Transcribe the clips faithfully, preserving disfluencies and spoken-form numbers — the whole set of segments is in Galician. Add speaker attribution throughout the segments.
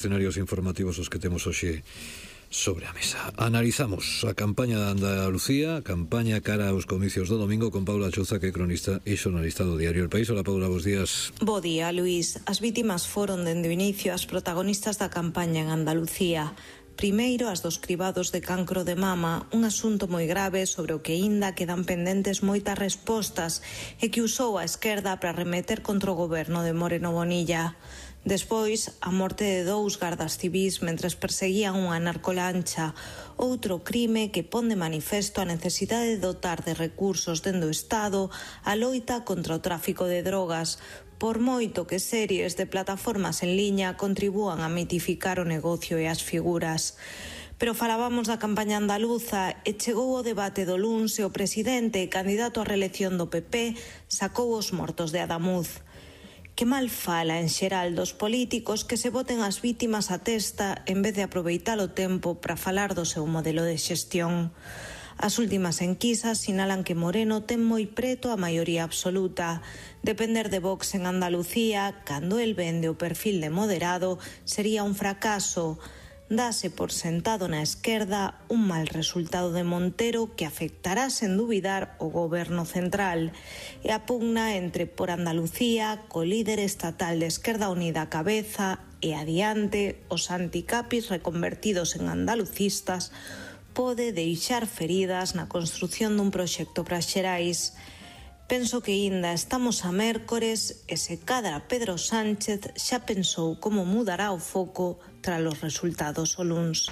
Speaker 1: Escenarios informativos os que temos hoxe sobre a mesa. Analizamos a campaña de Andalucía, a campaña cara aos comicios do domingo, con Paula Chouza, que é cronista e xornalista do diario El País. Hola, Paula, bos días.
Speaker 2: Bo día, Luís. As vítimas foron dende o inicio as protagonistas da campaña en Andalucía. Primeiro, as dos cribados de cancro de mama, un asunto moi grave sobre o que aínda quedan pendentes moitas respostas e que usou a esquerda para remeter contra o goberno de Moreno Bonilla. Despois, a morte de dous gardas civís mentres perseguían unha narcolancha, outro crime que pon de manifesto a necesidade de dotar de recursos dende o Estado a loita contra o tráfico de drogas, por moito que series de plataformas en liña contribúan a mitificar o negocio e as figuras. Pero falábamos da campaña andaluza e chegou o debate do luns e o presidente, candidato á reelección do P P, sacou os mortos de Adamuz. Que mal fala en xeral dos políticos que se boten as vítimas a testa en vez de aproveitar o tempo para falar do seu modelo de xestión. As últimas enquisas sinalan que Moreno ten moi preto a maioría absoluta. Depender de Vox en Andalucía, cando el vende o perfil de moderado, sería un fracaso. Dase por sentado na esquerda un mal resultado de Montero que afectará sen dubidar o goberno central. E a pugna entre Por Andalucía, co líder estatal de Esquerda Unida á cabeza e adiante os anticapis reconvertidos en andalucistas pode deixar feridas na construción dun proxecto para as Xerais. Penso que aínda estamos a mércores e se cadra Pedro Sánchez xa pensou como mudará o foco tras os resultados o luns.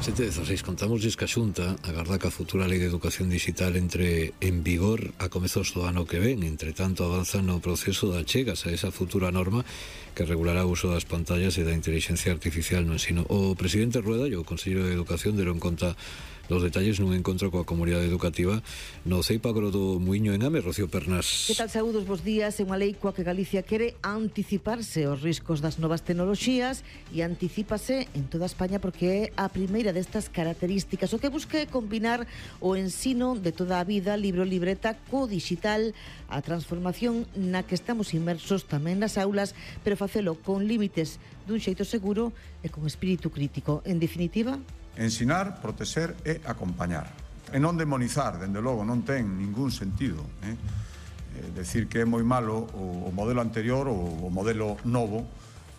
Speaker 1: sete dezasseis, contámosles que a Xunta agarda que a futura Lei de Educación Digital entre en vigor a comezos do ano que ven. Entre tanto, avanza no proceso de achegas a esa futura norma que regulará o uso das pantallas e da inteligencia artificial no ensino. O presidente Rueda e o Conselleiro de Educación deron conta dos detalles nun encontro coa comunidade educativa no Ceipagro do Muiño en Ame. Rocío Pernas.
Speaker 3: Que tal, saúdos, bos días. É unha lei coa que Galicia quere anticiparse aos riscos das novas tecnoloxías e anticípase en toda España porque é a primeira destas características. O que busca é combinar o ensino de toda a vida, libro libreta, co digital, a transformación na que estamos inmersos tamén nas aulas, pero facelo con límites dun xeito seguro e con espírito crítico. En definitiva,
Speaker 4: ensinar, protexer e acompañar. E non demonizar, dende logo, non ten ningún sentido. Eh? Eh, decir que é moi malo o, o modelo anterior ou o modelo novo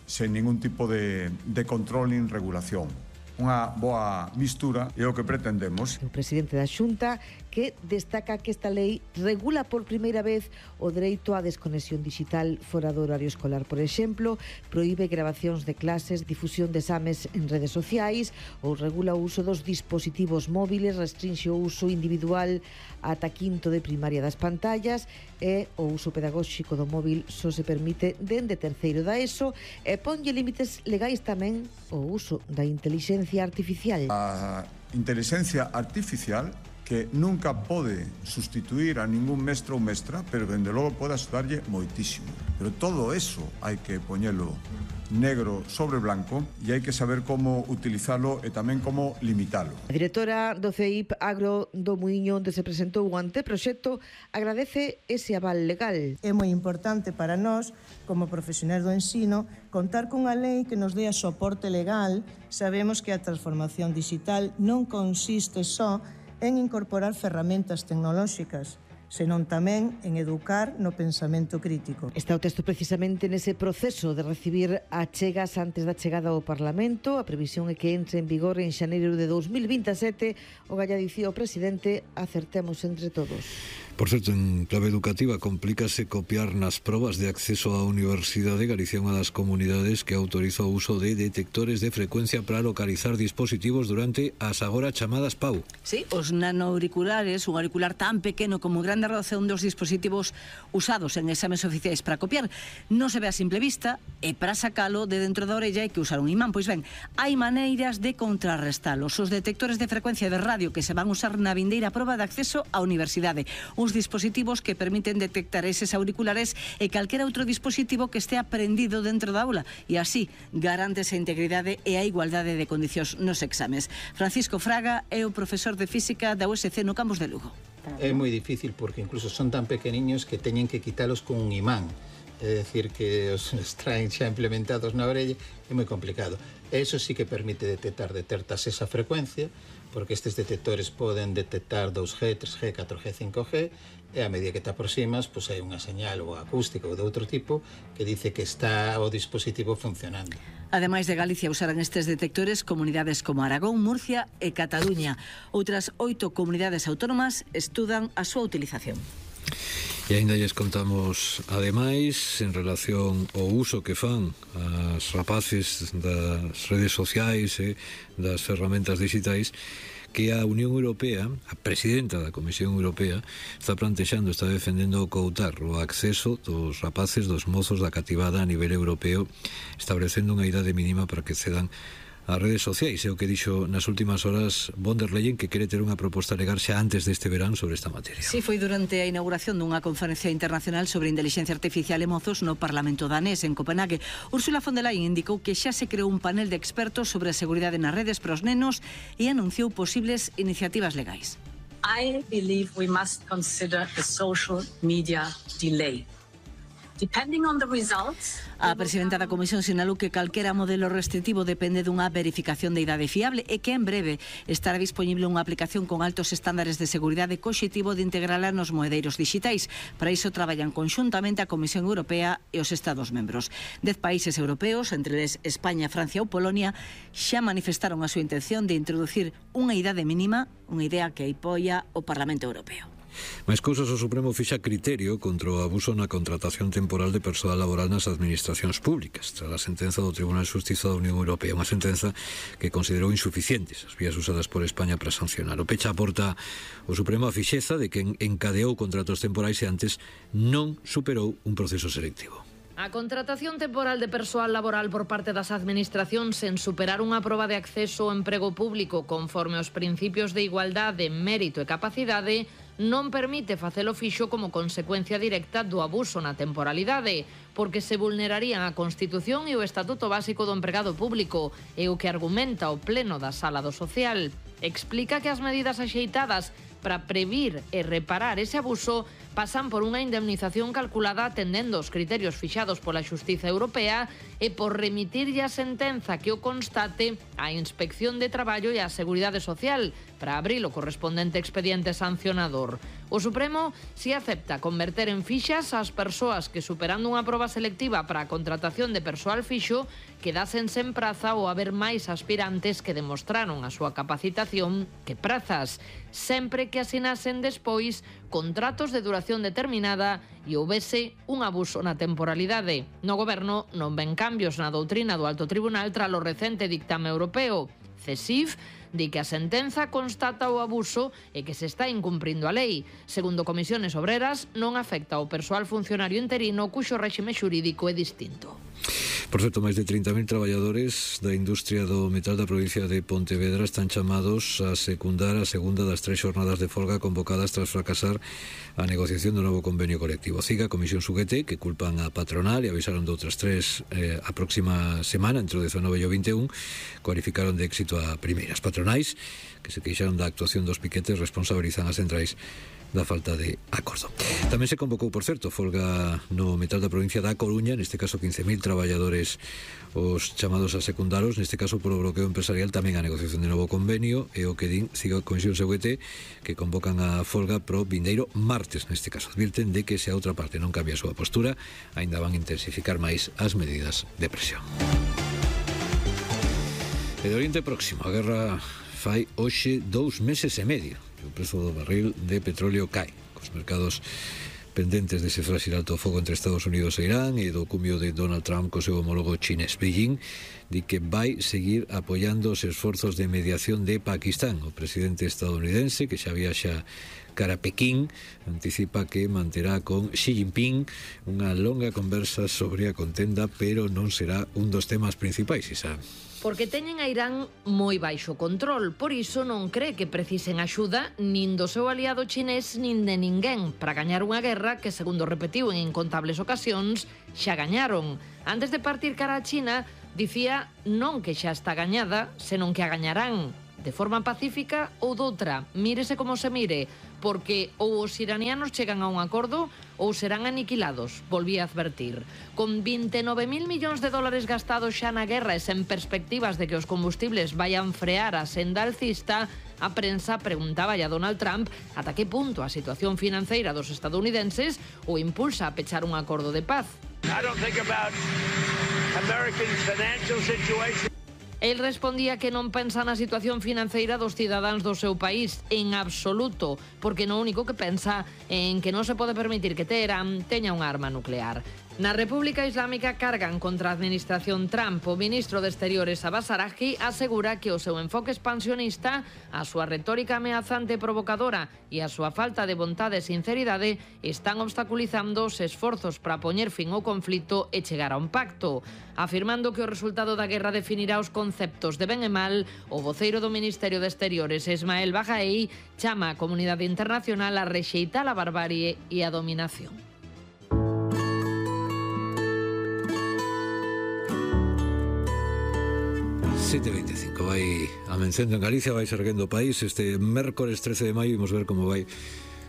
Speaker 4: sen ningún tipo de, de control nin regulación. Unha boa mistura é o que pretendemos.
Speaker 3: O presidente da Xunta que destaca que esta lei regula por primeira vez o dereito á desconexión digital fora do horario escolar. Por exemplo, proíbe grabacións de clases, difusión de exames en redes sociais ou regula o uso dos dispositivos móviles, restrinxe o uso individual ata quinto de primaria das pantallas e o uso pedagóxico do móvil só se permite dende terceiro da ESO e ponlle límites legais tamén o uso da inteligencia artificial.
Speaker 4: A inteligencia artificial que nunca pode sustituir a ningún mestre ou mestra, pero dende logo pode axudarlle moitísimo. Pero todo eso hai que poñelo negro sobre blanco e hai que saber como utilizalo e tamén como limitalo.
Speaker 3: A directora do C E I P Agro do Muiño, onde se presentou o anteproxecto, agradece ese aval legal.
Speaker 5: É moi importante para nós, como profesionais do ensino, contar cunha lei que nos dé a soporte legal. Sabemos que a transformación digital non consiste só en incorporar ferramentas tecnolóxicas, senón tamén en educar no pensamento crítico.
Speaker 3: Está o texto precisamente nese proceso de recibir achegas antes da chegada ao Parlamento. A previsión é que entre en vigor en xaneiro de dous mil vinte e sete. O galla dicía o presidente, acertemos entre todos.
Speaker 1: Por certo, en clave educativa, complícase copiar nas probas de acceso á universidade. Galicia é unha das comunidades que autoriza o uso de detectores de frecuencia para localizar dispositivos durante as agora chamadas P A U.
Speaker 6: Sí, os nanoauriculares, un auricular tan pequeno como grande relación dos dispositivos usados en exames oficiais para copiar, non se ve a simple vista e para sacalo de dentro da orella hai que usar un imán. Pois ben, hai maneiras de contrarrestalos. Os detectores de frecuencia de radio que se van usar na vindeira proba de acceso á universidade. Uns dispositivos que permiten detectar eses auriculares e calquera outro dispositivo que estea prendido dentro da aula e así garantes a integridade e a igualdade de condicións nos exames. Francisco Fraga é o profesor de Física da U S C no campus de Lugo.
Speaker 7: quitar.
Speaker 8: É
Speaker 7: ¿no?
Speaker 8: moi difícil porque incluso son tan pequeniños que teñen que quitalos con un imán. É dicir, que os traen xa implementados na orella, é moi complicado. Eso sí que permite detectar, detectas esa frecuencia, porque estes detectores poden detectar dos G, tres G, catro G, cinco G, e a medida que te aproximas, pois hai unha señal ou acústica ou de outro tipo que dice que está o dispositivo funcionando.
Speaker 6: Ademais de Galicia usarán estes detectores comunidades como Aragón, Murcia e Cataluña. Outras oito comunidades autónomas estudan a súa utilización.
Speaker 1: E ainda lles contamos, ademais, en relación ao uso que fan as rapaces das redes sociais e das ferramentas digitais, que a Unión Europea, a presidenta da Comisión Europea, está plantexando, está defendendo coutar o acceso dos rapaces, dos mozos da cativada a nivel europeo, establecendo unha idade mínima para que cedan as redes sociais. É o que dixo nas últimas horas von der Leyen, que quere ter unha proposta legal xa antes deste verán sobre esta materia.
Speaker 6: Sí, foi durante a inauguración dunha conferencia internacional sobre inteligencia artificial e mozos no Parlamento danés en Copenhague. Ursula von der Leyen indicou que xa se creou un panel de expertos sobre a seguridade nas redes para os nenos e anunciou posibles iniciativas legais.
Speaker 9: I believe we must consider the social media delay. Depending on the results,
Speaker 6: a presidenta da Comisión sinalou que calquera modelo restritivo depende dunha verificación de idade fiable e que en breve estará disponible unha aplicación con altos estándares de seguridade co obxectivo de integrala nos moedeiros digitais. Para iso traballan conxuntamente a Comisión Europea e os Estados membros. Dez países europeos, entre eles España, Francia ou Polonia, xa manifestaron a súa intención de introducir unha idade mínima, unha idea que apoia o Parlamento Europeo.
Speaker 1: Mais cousas, o Supremo fixa criterio contra o abuso na contratación temporal de persoal laboral nas administracións públicas, tras a sentenza do Tribunal de Xustiza da Unión Europea, unha sentenza que considerou insuficientes as vías usadas por España para sancionar. O pecha aporta o Supremo a fixeza de que encadeou contratos temporais e antes non superou un proceso selectivo.
Speaker 10: A contratación temporal de persoal laboral por parte das administracións sen superar unha proba de acceso ao emprego público conforme aos principios de igualdade, mérito e capacidade non permite facelo fixo como consecuencia directa do abuso na temporalidade, porque se vulnerarían a Constitución e o Estatuto Básico do Empregado Público, e o que argumenta o Pleno da Sala do Social. Explica que as medidas axeitadas para previr e reparar ese abuso pasan por unha indemnización calculada atendendo os criterios fixados pola Xustiza Europea e por remitirlle a sentenza que o constate á Inspección de Traballo e á Seguridade Social para abrir o correspondente expediente sancionador. O Supremo si acepta converter en fixas as persoas que, superando unha proba selectiva para a contratación de persoal fixo, quedasen sen praza ou haber máis aspirantes que demostraron a súa capacitación que prazas, sempre que asinasen despois contratos de duración determinada e houbese un abuso na temporalidade. No Goberno non ven cambios na doutrina do Alto Tribunal tralo recente dictame europeo. CESIF di que a sentenza constata o abuso e que se está incumprindo a lei. Segundo Comisiones Obreras, non afecta ao persoal funcionario interino cuxo réxime xurídico é distinto.
Speaker 1: Por certo, máis de trinta mil traballadores da industria do metal da provincia de Pontevedra están chamados a secundar a segunda das tres xornadas de folga convocadas tras fracasar a negociación do novo convenio colectivo. CIGA, Comisión Suguete, que culpan a patronal e avisaron de outras tres eh, a próxima semana, entre o dezanove e o vinte e un, cualificaron de éxito a primeiras. Patronais, que se queixaron da actuación dos piquetes, responsabilizan as centrais da falta de acordo. Tamén se convocou, por certo, folga no metal da provincia da Coruña, neste caso quince mil traballadores os chamados a secundaros, neste caso polo bloqueo empresarial, tamén a negociación de novo convenio, e o que din siga a Comisión Seguete, que convocan a folga pro vindeiro martes, neste caso. Advirten de que se a outra parte non cambia a súa postura, aínda van intensificar máis as medidas de presión. E de Oriente Próximo, a guerra fai hoxe dous meses e medio. O prezo do barril de petróleo cae, cos mercados pendentes dese frágil alto fogo entre Estados Unidos e Irán e do cumio de Donald Trump co seu homólogo chinés. Beijing di que vai seguir apoiando os esforzos de mediación de Pakistán. O presidente estadounidense, que xa viaxa cara a Pequín, anticipa que manterá con Xi Jinping unha longa conversa sobre a contenda, pero non será un dos temas principais, Isa.
Speaker 10: Porque teñen a Irán moi baixo control, por iso non cree que precisen axuda nin do seu aliado chinés nin de ninguén para gañar unha guerra que, segundo repetiu en incontables ocasións, xa gañaron. Antes de partir cara a China, dicía non que xa está gañada, senón que a gañarán, de forma pacífica ou doutra, mírese como se mire, porque ou os iranianos chegan a un acordo ou serán aniquilados, volvía a advertir. Con vinte e nove mil millóns de dólares gastados xa na guerra e sen perspectivas de que os combustibles vayan frear a senda alcista, a prensa preguntaba a Donald Trump ata que punto a situación financeira dos estadounidenses o impulsa a pechar un acordo de paz.
Speaker 7: I don't think about American financial situation.
Speaker 10: El respondía que non pensa na situación financeira dos cidadáns do seu país en absoluto, porque no único que pensa en que non se pode permitir que Teherán teña unha arma nuclear. Na República Islámica cargan contra a administración Trump. O ministro de Exteriores Abbas Araghchi asegura que o seu enfoque expansionista, a súa retórica ameazante e provocadora e a súa falta de vontade e sinceridade están obstaculizando os esforzos para poñer fin ao conflito e chegar a un pacto. Afirmando que o resultado da guerra definirá os conceptos de ben e mal, o voceiro do Ministerio de Exteriores, Ismael Baghai, chama a comunidade internacional a rexeitar a barbarie e a dominación.
Speaker 1: sete e veinticinco, vai amencendo en Galicia, vai erguendo o país. Este mércores trece de maio imos ver como vai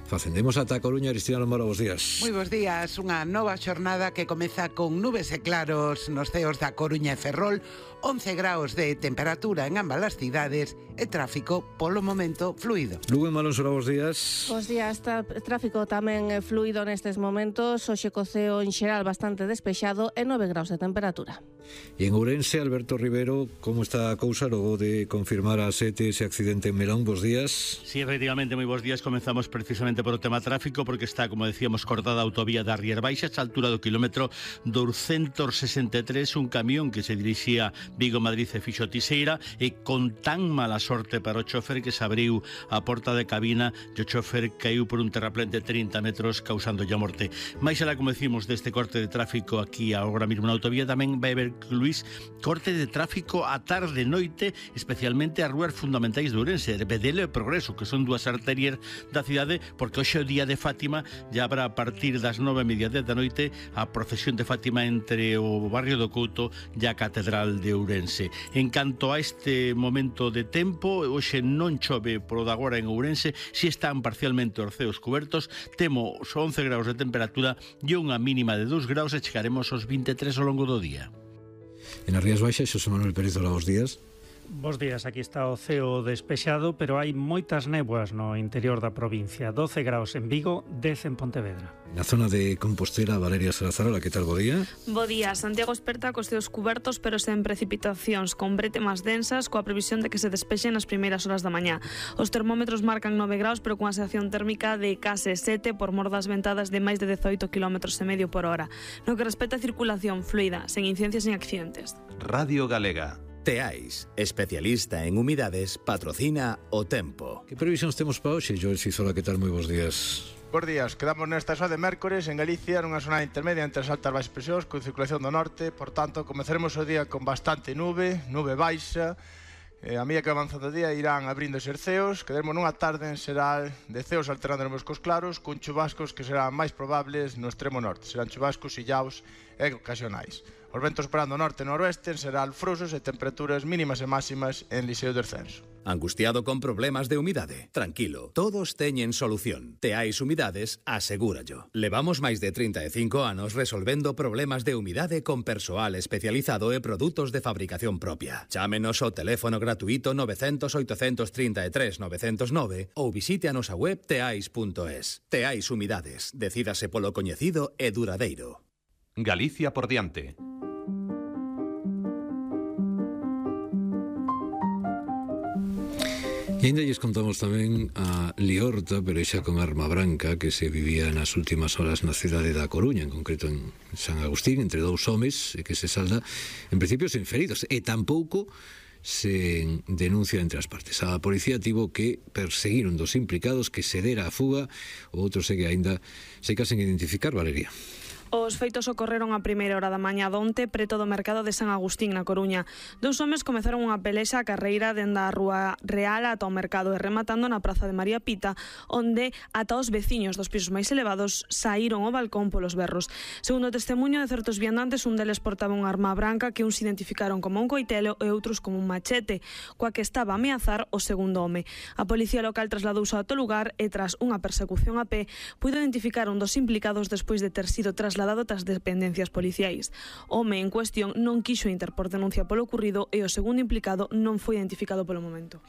Speaker 1: facendemos ata a Coruña. Cristina Lomaro, bos días.
Speaker 11: Moi bos días, unha nova xornada que comeza con nubes e claros nos ceos da Coruña e Ferrol, once graus de temperatura en ambas as cidades e tráfico polo momento fluido.
Speaker 1: Lugo en Malonsora, bos días.
Speaker 12: Bos días, tráfico tamén fluido nestes momentos, hoxe co ceo en xeral bastante despexado e nove graus de temperatura.
Speaker 1: E en Ourense, Alberto Rivero, como está a cousa logo de confirmar a sete ese accidente en Melón? Bos días.
Speaker 13: Sí, efectivamente, moi bos días. Comenzamos precisamente por o tema tráfico, porque está, como decíamos, cortada a autovía da Rier Baixa, a altura do kilómetro douscentos sesenta e tres, un camión que se dirixía Vigo-Madrid e fixo Tiseira, e con tan mala sorte para o chofer que se abriu a porta de cabina e o chofer caiu por un terraplén de trinta metros, causando a morte. Mais alá, como decimos, deste corte de tráfico aquí agora mesmo na autovía, tamén vai haber, Luís, corte de tráfico a tarde e noite, especialmente as rúas fundamentais de Ourense, Bedelo e Progreso, que son dúas arterias da cidade, porque hoxe é o día de Fátima, ya habrá a partir das nove e media da noite a procesión de Fátima entre o barrio do Couto e a Catedral de Ourense. En canto a este momento de tempo, hoxe non chove polo de agora en Ourense, si están parcialmente os ceos cubertos, temos once graus de temperatura e unha mínima de dous graus e chegaremos aos vinte e tres ao longo do día.
Speaker 1: En as Rías Baixas, Xosé Manuel Pérez, hola, bos días.
Speaker 14: Bos días, aquí está o ceo despexado, pero hai moitas néboas no interior da provincia. doce graus en Vigo, dez en Pontevedra.
Speaker 1: Na zona de Compostela, Valeria Salazar, hola, que tal, bo día?
Speaker 15: Bo día, Santiago esperta cos ceos cubertos, pero sen precipitacións, con bretemas densas, coa previsión de que se despexen nas primeiras horas da mañá. Os termómetros marcan nove graus, pero cunha sensación térmica de case sete por mor das ventadas de máis de dezoito kilómetros e medio por hora. No que respecta a circulación fluida, sen incidencias nin accidentes.
Speaker 16: Radio Galega. Teais, especialista en humidades, patrocina o tempo.
Speaker 1: Que previsións temos para hoxe, Joel Cizola, que tal, moi bos días.
Speaker 17: Bos días, quedamos nesta zona de mércores en Galicia, nunha zona intermedia entre as altas baixas presións, con circulación do norte, por tanto, comezaremos o día con bastante nube, nube baixa. Eh, a medida que avanza o día irán abrindo os ceos, quedaremos nunha tarde en xeral de ceos alternando nos cos claros, con chubascos que serán máis probables no extremo norte, serán chubascos illaos e ocasionais. Os ventos parando norte e noroeste serán alfrosos e temperaturas mínimas e máximas en lixeiro descenso.
Speaker 16: Angustiado con problemas de humidade? Tranquilo, todos teñen solución. Teais Humidades, asegúrallo. Levamos máis de trinta e cinco anos resolvendo problemas de humidade con persoal especializado e produtos de fabricación propia. Chámenos ao teléfono gratuito nove cero cero, oito tres tres, nove cero nove ou visite a nosa web teais punto es. Teais Humidades, decídase polo coñecido e duradeiro.
Speaker 18: Galicia por diante.
Speaker 1: E ainda lles contamos tamén a liorta, pero xa con arma branca, que se vivía nas últimas horas na cidade da Coruña, en concreto en San Agustín, entre dous homes, e que se salda, en principio, sen feridos, e tampouco se denuncia entre as partes. A policía tivo que perseguir un dos implicados que se dera a fuga, o outro segue aínda se casen identificar, Valeria.
Speaker 15: Os feitos ocorreron a primeira hora da mañá donte preto do mercado de San Agustín na Coruña. Dous homes comezaron unha pelexa a carreira dende a Rúa Real ata o mercado e rematando na Praza de María Pita, onde ata os veciños dos pisos máis elevados saíron ao balcón polos berros. Segundo o testemunho de certos viandantes, un deles portaba unha arma branca que uns identificaron como un coitelo e outros como un machete, coa que estaba a ameazar o segundo home. A policía local trasladouse ao lugar e tras unha persecución a pé puido identificar un dos implicados despois de ter sido trasladado tras dependencias policiais. O home en cuestión non quixo interpor denuncia polo ocurrido e o segundo implicado non foi identificado polo momento.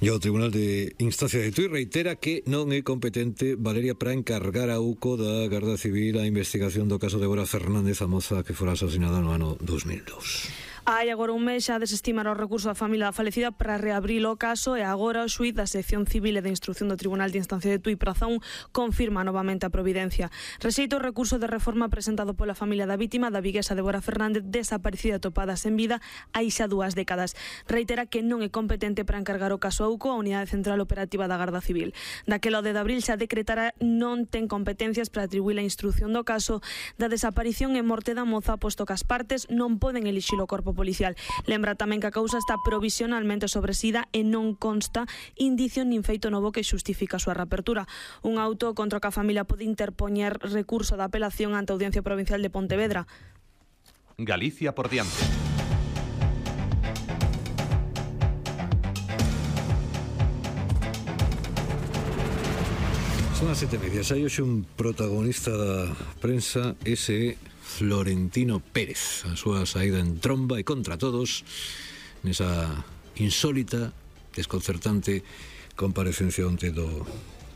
Speaker 1: E o Tribunal de Instancia de Tui reitera que non é competente Valeria para encargar a U C O da Garda Civil a investigación do caso de Bora Fernández, a moza que fora asesinada no ano dos mil dous.
Speaker 15: Hai agora un mes xa desestimar o recurso da familia da falecida para reabrir o caso e agora o xuíz da sección civil e de instrucción do Tribunal de Instancia de Tui Prazón confirma novamente a providencia. Rexeita o recurso de reforma presentado pola familia da vítima da viguesa Débora Fernández, desaparecida e topada sen vida hai xa dúas décadas. Reitera que non é competente para encargar o caso a U C O, a Unidade Central Operativa da Garda Civil. Daquela o de abril xa decretara non ten competencias para atribuir a instrucción do caso da desaparición e morte da moza, posto que as partes non poden elixir o corpo policial. Lembra tamén que a causa está provisionalmente sobresida e non consta indicio nin feito novo que xustifica a súa reapertura. Un auto contra o que a familia pode interpoñer recurso de apelación ante a Audiencia Provincial de Pontevedra.
Speaker 18: Galicia por diante.
Speaker 1: Son as sete e media. Hai hoxe un protagonista da prensa, ese Florentino Pérez, a súa saída en tromba e contra todos nesa insólita, desconcertante comparecencia onte do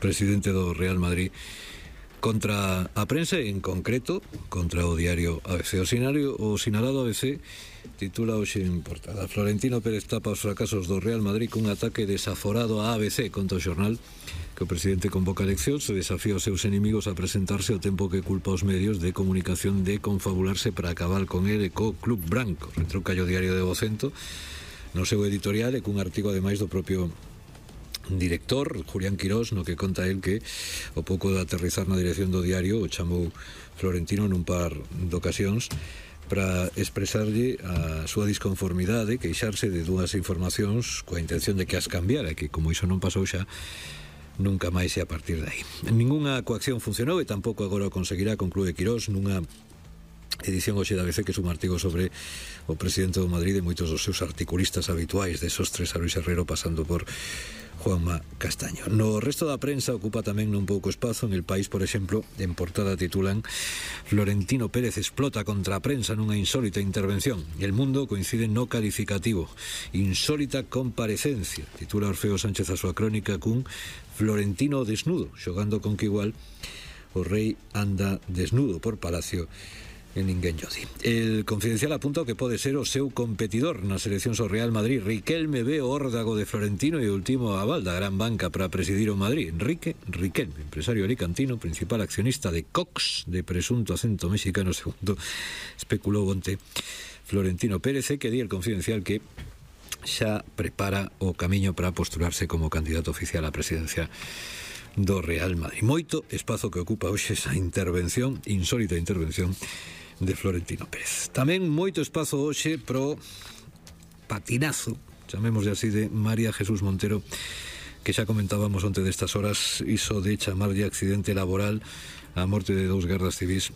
Speaker 1: presidente do Real Madrid contra a prensa e en concreto contra o diario A B C. O sinario, o sinalado A B C titula hoxe en portada: Florentino Pérez tapa os fracasos do Real Madrid cun ataque desaforado a A B C. Conta o xornal que o presidente convoca eleccións e desafía os seus enemigos a presentarse ao tempo que culpa os medios de comunicación de confabularse para acabar con ele co Club Branco. Retruca o diario de Vocento no seu editorial e cun artigo ademais do propio director, Julián Quirós, no que conta el que o pouco de aterrizar na dirección do diario o chamou Florentino nun par de ocasións para expresarlle a súa disconformidade, queixarse de dúas informacións coa intención de que as cambiara, e que como iso non pasou xa, nunca máis e a partir de aí. Ninguna coacción funcionou e tampouco agora o conseguirá, conclúe Quirós nunha edición hoxe da A B C que é un artigo sobre o presidente do Madrid e moitos dos seus articulistas habituais, de esos tres a Luis Herrero pasando por Juanma Castaño. No resto da prensa ocupa tamén non pouco espazo. En El País, por exemplo, en portada titulan: Florentino Pérez explota contra a prensa nunha insólita intervención. El Mundo coincide no calificativo: insólita comparecencia. Titula Orfeo Sánchez a súa crónica cun Florentino desnudo, xogando con que igual o rei anda desnudo por Palacio en ninguén lle di. El Confidencial apunta o que pode ser o seu competidor nas eleccións ao Real Madrid. Riquelme ve o órdago de Florentino e o último aval da gran banca para presidir o Madrid. Enrique Riquelme, empresario alicantino, principal accionista de Cox, de presunto acento mexicano, segundo especulou onte Florentino Pérez, e que di El Confidencial que xa prepara o camiño para postularse como candidato oficial á presidencia do Real Madrid. Moito espazo que ocupa hoxe esa intervención, insólita intervención de Florentino Pérez. Tamén moito espazo hoxe pro patinazo, chamémosle así, de María Jesús Montero, que xa comentábamos onte destas horas, iso de chamarlle accidente laboral a morte de dous gardas civís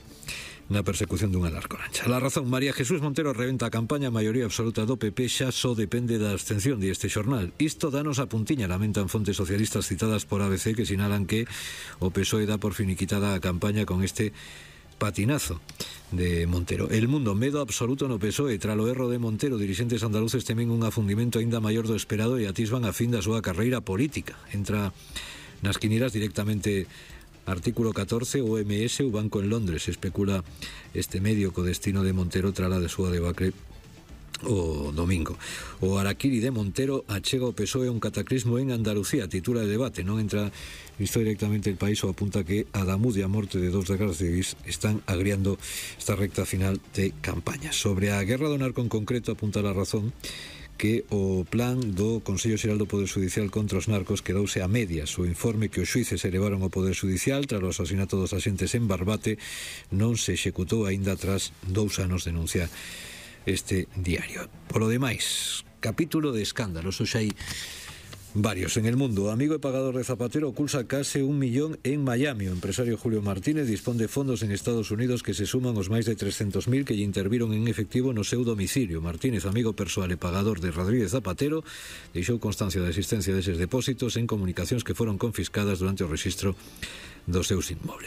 Speaker 1: na persecución dunha larcorancha. La Razón: María Jesús Montero reventa a campaña, a maioría absoluta do P P xa só depende da abstención, di este xornal. Isto danos a puntiña, lamentan fontes socialistas citadas por A B C, que sinalan que o P S O E dá por finiquitada a campaña con este patinazo de Montero. El Mundo: medo absoluto no P S O E. Tralo erro de Montero, dirixentes andaluces temen un afundimento aínda maior do esperado e atisban a fin da súa carreira política. Entra nas quinieras directamente Artículo catorce, O M S, o Banco en Londres. Especula este medio co destino de Montero trala de súa debacle o domingo. O araquiri de Montero achega o P S O E un cataclismo en Andalucía, titula de debate. Non entra isto directamente El País, o apunta que a Damud e a morte de dos gardas civis están agriando esta recta final de campaña. Sobre a guerra do narco en concreto, apunta La Razón que o plan do Consello Xeral do Poder Judicial contra os narcos quedouse a medias. O informe que os xuíces elevaron ao Poder Judicial tras o asasinato dos axentes en Barbate non se executou aínda tras dous anos, denuncia este diario. Polo demais, capítulo de escándalos, hoxe hai varios en el mundo. Amigo e pagador de Zapatero oculta case un millón en Miami. O empresario Julio Martínez dispón de fondos en Estados Unidos que se suman aos máis de trescentos mil que lle interviron en efectivo no seu domicilio. Martínez, amigo persoal e pagador de Rodríguez Zapatero, deixou constancia da existencia deses depósitos en comunicacións que foron confiscadas durante o rexistro dos seus inmobles.